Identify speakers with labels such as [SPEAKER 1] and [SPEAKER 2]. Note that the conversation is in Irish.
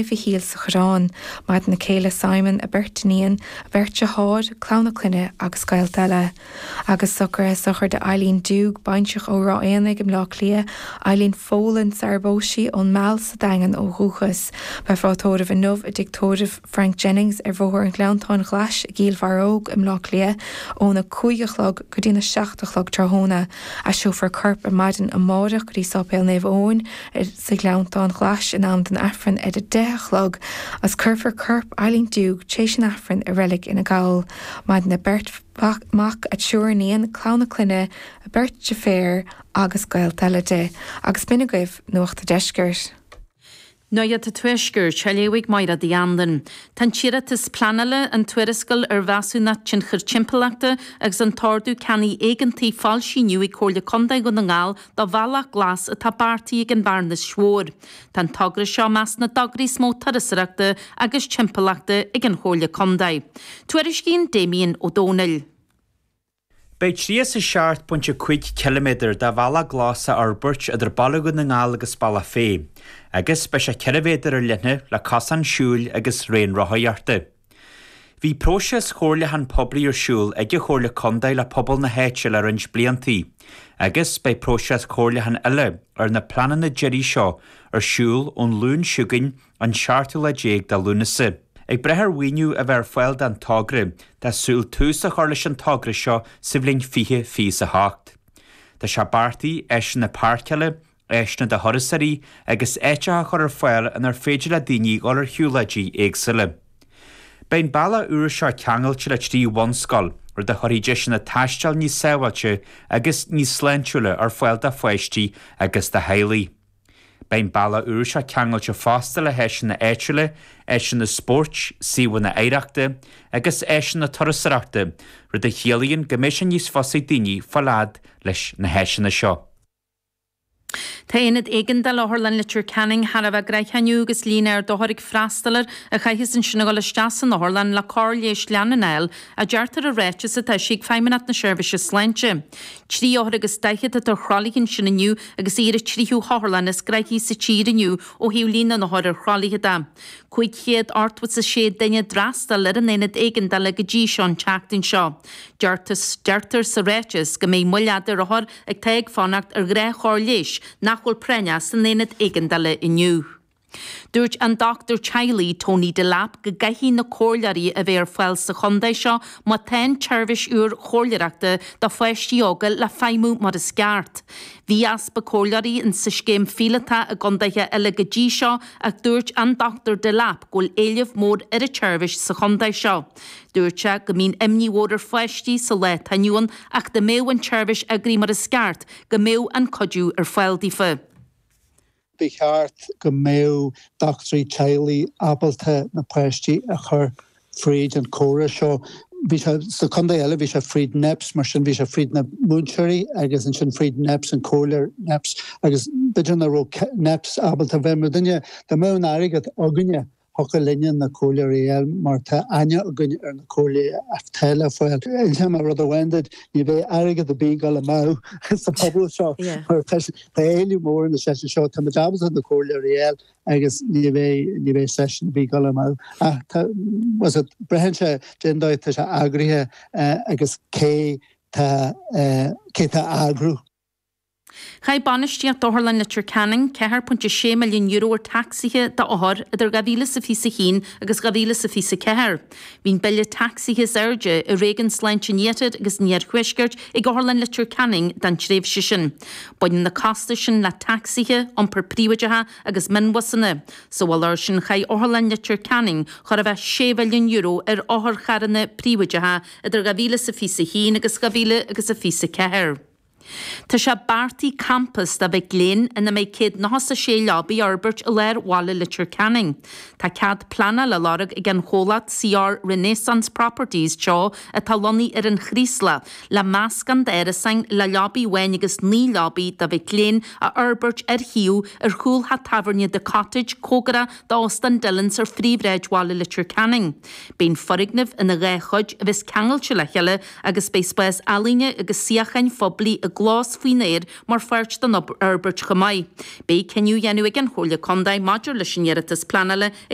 [SPEAKER 1] Mhichíl sa Choireán. Maireann a céile Simon, a beirt iníon, a beirt deartháir, clann a clainne agus gaolta eile. Agus socruithe sochraide Eileen Doogue, baintreach ó Ráth Éanaigh i mBleá Cliath, Eileen Folan sarar phós sí ón Meal sa Daingean ó dhúchas. Beifear á tórramh inniu i dtigh tórraimh Frank Jennings ar Bhóthar an Ghleanntáin Ghlais i gCill Bharróg i mBleá Cliath óna 5 a chlog go dtína 7 a chlog tráthnóna. Aistreofar a corp ar maidin amáireach go dtí Sáipéal Naomh Eoin sa Ghleanntán Ghlais in am don Aifreann ar a 10 a chlog agus cuirfear corp Eileen Doogue tréis an Aifrinn i Reilig Fhine Gall. Maireann a beirt mhac, a triúr iníon, clann a clainne, a beirt deirféar agus gaolta eile di. Agus b'in agaibh Nuacht a' Deiscirt.
[SPEAKER 2] Nuacht an Tuaiscirt, á léamh ag Máire Uí Anluain. Tá an t-iarratas pleanála, an tuarascáil ar mheasúnacht tionchair timpeallachta agus an t-ordú ceannaigh éigeantaigh foilsithe inniu ag Comhairle Contae Dhún na nGall do bhealach glas atá beartaithe ag an Bhearnas Mhór. Tá an togra seo i measc na dtograí is mó turasóireachta agus timpeallachta ag an Chomhairle Contae. Tuairiscíonn Damien Ó Dónaill.
[SPEAKER 3] Beidh 37.5 ciliméadar de bhealach glas á fhorbairt idir Baile Dhún na nGall agus Bealach Féich, agus beidh sé 4 mhéadar ar leithne le cosán siúil agus raon rothaíochta. Bhí próiseas chomhairliúchán poiblí ar siúl ag an Chomhairle Contae le pobal na háite le roinnt bliantaí, agus beidh próiseas comhairliúcháin eile ar na pleananna deiridh seo ar siúl ón Luan seo chugainn an seachtú lá déag de Lúnasa. Ag brath ar mhaoiniú a bheith ar fáil don togra, tá súil tús a chur leis an togra seo sa bhliain 2028. Tá sé beartaithe áiseanna páirceála, áiseanna do thurasóirí agus áiteacha a chur ar fáil inar féidir le daoine dhul ar shiúlóidí éagsúla. Beidh an bealach úr seo ceangailte le 3 bhunscoil, rud a chuirfidh deiseanna taistil níos sábháilte agus níos sláintiúla ar fáil do pháistí agus do theaghlaigh. Beidh an bealach úr seo ceangailte fosta le háiseanna áitiúla, áiseanna spóirt, suíomhanna oidhreachta agus áiseanna turasóireachta, rud a chiallaíonn go mbeidh sé níos fusa ag daoine fáil fhad leis na háiseanna seo.
[SPEAKER 2] Tá Aonad Éigeandála Otharlann Leitir Ceanainn thar a bheith gnoitheach inniu agus líon ard othar ag freastal air a chaithfeas ansin a dhul isteach san otharlann le cóir leighis leanúnach a fháil, a deirtear i ráiteas atá eisithe ag Feidhmeannacht na Seirbhíse Sláinte. 3 othar agus 40 atá ar thralaithe ansin inniu agus í ar an tríú hotharlann is gnoithí sa tír inniu ó thaobh líon na n-othar ar thralaithe de. 586 duine a d'fhreastail ar an aonad éigeandála go dtí seo an tseachtain seo. Deirtear sa ráiteas go mbeidh moill fhada ar othair atá ag fanacht ar ghnáthchóir leighis nach bhfuil práinneach san aonad éigeandála inniu. Dúirt an dochtúir teaghlaigh Tony Delap go gcaithfidh na comhairleoirí a bheith ar fáil sa chontae seo má tá an tseirbhís úr chomhairleoireachta do pháistí óga le feidhmiú mar is ceart. Bhí easpa comhairleoirí in sa scéim phíolótach i gcontaetha eile go dtí seo ach dúirt an Dr Delap go bhfuil éileamh mór ar an tseirbhís sa chontae seo. Dúirt sé go mbíonn imní mhór ar pháistí sa lá atá inniu ann ach dá mbeadh an tseirbhís eagraithe mar is ceart go mbeadh an cuidiú ar fáil daofa.
[SPEAKER 4] Ba cheart go mbeadh dochtúirí teaghlaigh ábalta na páistí a chur fríd an córas seo. Bhí sé, sna contaetha eile, bhí sé fríd NEPS, mar sin bhí sé fríd na múinteoirí agus ansin fríd NEPS, an comhairleoir NEPS agus b'fhéidir nach raibh NEPS ábalta bheith mar duine, dá mbeadh an airgead againne, Thiocfadh linne na comhairleoirí a fháil mar tá aithne againn ar na comhairleoirí atá le fáil. Inseoidh mé rud amháin duit, ní bheidh airgead ar bith ag dul amú sa phobal seo mar tá éileamh mór ar na seisiúin seo. Tá muid ábalta na comhairleoirí a fháil agus ní bheidh ní bheidh seisiún ar bith ag dul amú. Ach tá, was it, braitheann sé cén dóigh atá sé eagraithe agus cé tá cé tá á eagrú.
[SPEAKER 2] Chaith bainistíocht Otharlann Leitir Ceanainn €4.6 milliún ar tacsaithe d'othair idir 2021 agus 2024. Bhí an bille tacsaithe is airde i Réigiún Sláinte an Iarthair agus an Iarthuaiscirt ag Otharlann Leitir Ceanainn don tréimhse sin. Baineann na costais sin le tacsaithe, iompar príobháideach agus mionbhusanna. Sa mhullach air sin chaith Otharlann Leitir Ceanainn chóir a bheith €6 mhilliún ar otharcharranna príobháideacha idir 2021 agus 2024. Tá sé beartaithe campas do mhic léinn ina mbeidh 196 leabaidh a fhorbairt i lár bhaile Leitir Ceanainn. Tá cead pleanála á lorg ag an chomhlacht CR Renaissance Properties Teo atá lonnaithe ar an Chraoslach le meascán d'árasáin le leabaidh amháin agus 9 leabaidh do mhic léinn a fhorbairt ar shuíomh ar chúl theach tábhairne The Cottage cóngarach d'Óstán Dillon's ar phríomhshráid bhaile Leitir Ceanainn. Beidh an foirgneamh ina dhá chuid a bheas ceangailte le chéile agus beidh spás ealaíne agus suíocháin phoiblí i. glas faoin aer mar pháirt den fhorbairt chomh maith. Beidh cinneadh á dhéanamh ag an Chomhairle Contae maidir leis an iarratas pleanála.